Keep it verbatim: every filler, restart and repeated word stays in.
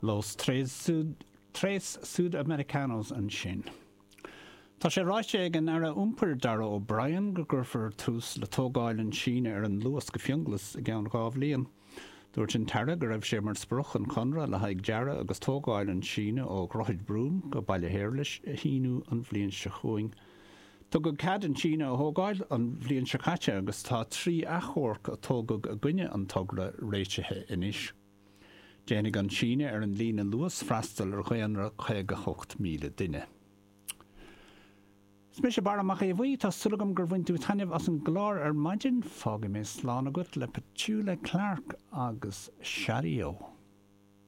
Los Tres Sud Tres Sudamericanos ansin. Tá sé ráite ag an Aire Iompair Darragh O'Brien go gcuirfear tús le tógáil an síneadh ar an Luas go Fionnghlas i gceann dhá bhliain. Dúirt an tAire go raibh sé mar sprioc an conradh le haghaidh dearadh agus tógáil an síneadh ó Dhroichead Broome go Baile Shéarlais a shíniú an bhliain seo chugainn. Tugadh cead an síneadh a thógáil an bhliain seo caite agus tá trí achomharc a tógadh i gcoinne an togra réitithe anois. Déanfaidh an síneadh ar an líne Luas freastal ar dhaonra caoga hocht míle duine. Is mise Barra Mac Aodha Bhuí, tá súil agam gur bhain tú taitneamh as an gclár ar maidin, fágfaidh mé slán agat le Petula Clark agus Shadio.